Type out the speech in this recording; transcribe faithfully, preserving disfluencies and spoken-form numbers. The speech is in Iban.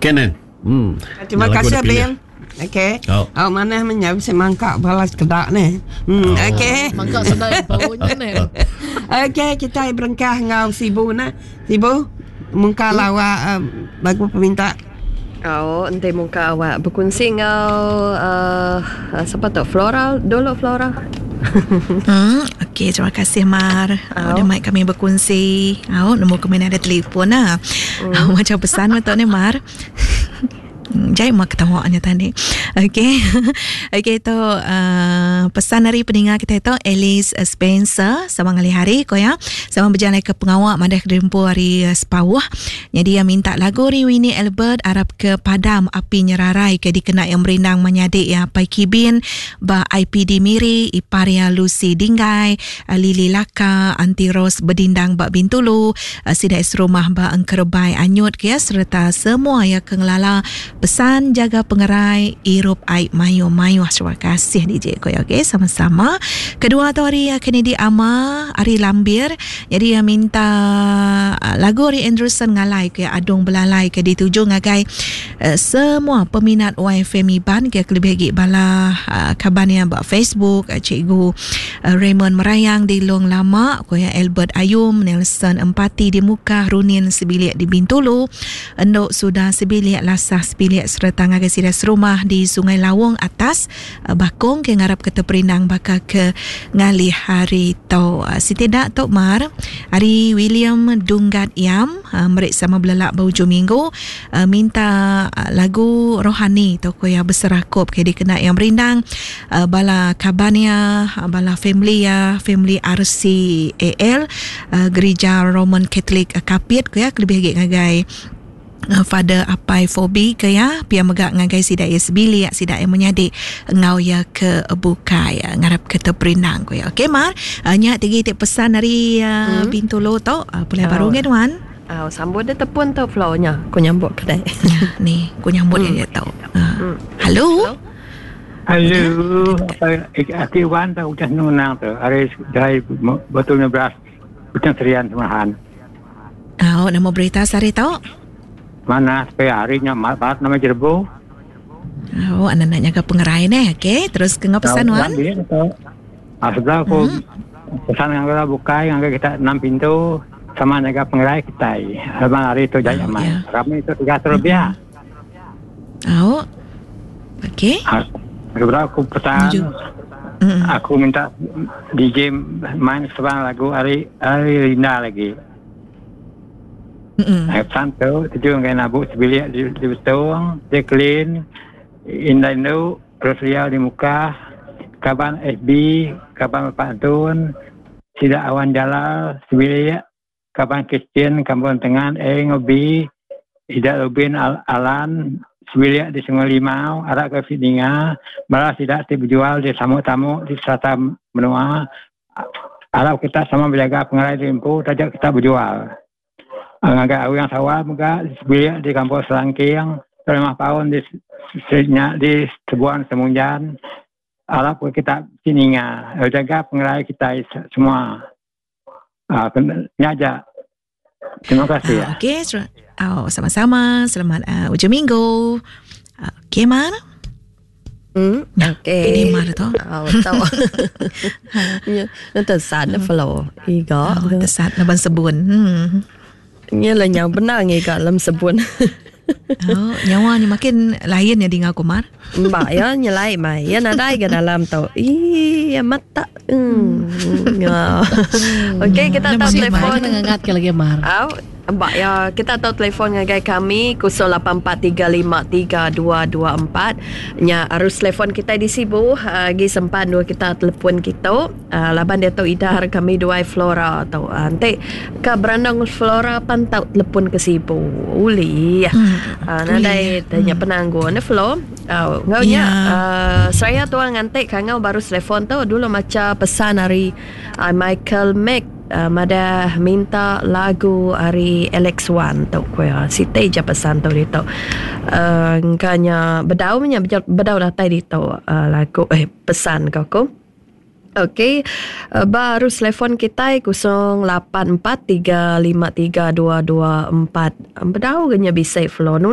Okay nen. Hmm. Terima Lagu kasih dipilih. Bill. Okey. Oh. Oh, mana menyau semangka balas kedak ni. Hmm, Oh. okey. Mangka sedai baunya ni. Okey, kita berengkah ngau Sibu nak. Sibu, mungka lawa um, lagu peminta. Oh, enti muka awak berkongsi ngau uh, siapa tu? Flora dulu Flora. Hmm, okey, terima kasih Mar. Oh. Udah mai kami berkongsi. Oh, nombor kami ada telefon lah. Hmm. Macam pesan betul ni Mar. Jai mak ketawanya tadi. Okey. Okey tu uh, pesan dari pendengar kita itu Alice Spencer sama ngali hari ko ya. Sama berjalan ke pengawak madah kedempu hari uh, Sepawah. Jadi dia minta lagu ri Winnie Albert Arab ke Padam Api Nyerarai ke dikena yang merindang menyadik ya Pai Kibin ba I P D Miri Iparia Lucy Dinggai uh, Lili Laka Anti Rose Bedindang ba Bintulu uh, Sidai Serumah ba Engkerbai Anyut ke ya serta semua ya kengelala pesan jaga pengerai irup air mayu-mayu. Terima kasih D J ko ya. Okey, sama-sama. Kedua tu hari Kennedy Ama hari Lambir. Jadi dia minta lagu hari Anderson ngalai ke Adung Belalai ke dituju ngagai uh, semua peminat Y F M Iban ke kelebih lagi bala uh, kaban yang buat Facebook uh, Cikgu uh, Raymond Merayang di Long Lama ko ya Albert Ayum Nelson Empati di Mukah Runin Sebilik di Bintulu Endok Sudah Sebilik Lasah Sebilik serta ngagai sida serumah di Sungai Lawong atas uh, Bakong ke ngarap ke terperindang bakal ke ngalih hari tau uh, sitidak tok mar hari William Dunggat Yam uh, merik sama belelak berhujung minggu uh, minta uh, lagu rohani toko ya berserakup ke dikena yang berindang uh, bala kabania uh, bala family ya family R C A L uh, Gereja Roman Catholic uh, Kapit ke ya kelebih lagi ngagai Father Apai Fobi ke ya pia megak ngagai sidak ya sebilik sidak yang menyadik ngau ya ke bukai ngarap ke terperindang ko ya. Okey Mar, uh, nya tiga titik pesan dari uh, hmm. Bintulu tu uh, pulai oh. Baru ngan wan. Ah, uh, sambut dia tepun tu flow-nya. Ku nyambut kedai. Ya, ni ku nyambut hmm. dia tau. Uh. Hmm. Halo. Halo. Aku Wan tak udah nunang tu. Hari dari betulnya beras Butang Serian Semahan. Ah, uh, nama berita sehari tau? Mana supaya harinya barat nama Jerbo. Oh, anak nak jaga pengerai ni, okey. Terus ke ngapa pesan wan? Ah, sebelah aku hmm. pesan yang kita buka yang kita enam pintu sama jaga pengerai kita. Lepas hari itu jaya oh, ya. Kami itu tiga ratus lebih. Oh. Okey. Ah, sebelah aku pesan. Mm. Aku minta D J main sebuah lagu hari hari Linda lagi. Mm-hmm. Pesan tu tujuh dengan nabuk sebilik di, di Betong, Jacqueline, Indah Indu, Rosalia di Muka, Kaban F B, Kaban Bapak Antun, Sidak Awan Jalal, sebilik, Kaban Christian, Kampung Tengah, E Ngobi, Ida Rubin Al- Alan, sebilik di Sungai Limau, Arak ke Fidinga, malah sidak ti berjual di tamu-tamu di serata menua. Arab kita sama berjaga pengerai di Limpu, tajak kita berjual. Agak orang sawah juga sebilik di kampung Selangking, lima tahun di di Sebuan Semunjan. Arab kita sininga, jaga pengerai kita semua. Ah, nyaja. Terima kasih. Ah, okey, oh, sama-sama. Selamat uh, hujung minggu. Okey, Mar. Hmm, okey. Ini Mar tu. Oh, tahu. Ya, tersat na flow. Iga. Oh, tersat laban sebun. Hmm. Nya lah nyawa benar ngiga dalam sebun. Oh, nyawa ni makin lain ya dengar aku Mar. Mbak ya nyelai mai. Ya nadai ke dalam tu. Ih, ya mata. Hmm. Ya. Okey, kita tahu telefon ngengat ke lagi Mar. Au, mbak ya, kita tahu telefon ngagai kami kosong lapan empat tiga lima tiga dua dua empat. Nya arus telefon kita di Sibu, gi sempan dua kita telefon kita. Uh, laban dia tahu idar kami dua Flora tau. Uh, nanti ke berandang Flora pantau telefon ke Sibu. Uli. Hmm. Uh, nadai tanya hmm. penangguh ne Flo. Uh, ngau nya yeah. uh, saya tuang ngantik kangau baru telefon tu dulu macam pesan hari uh, Michael Mac. Uh, madah minta lagu hari Alex Wan tu kuya site je pesan tu dito uh, ngkanya bedau nya bedau datai dito uh, lagu eh pesan kau ku. Okey, uh, baru telefon kita kosong lapan empat tiga lima tiga dua dua empat. Bedau genya bisa flow.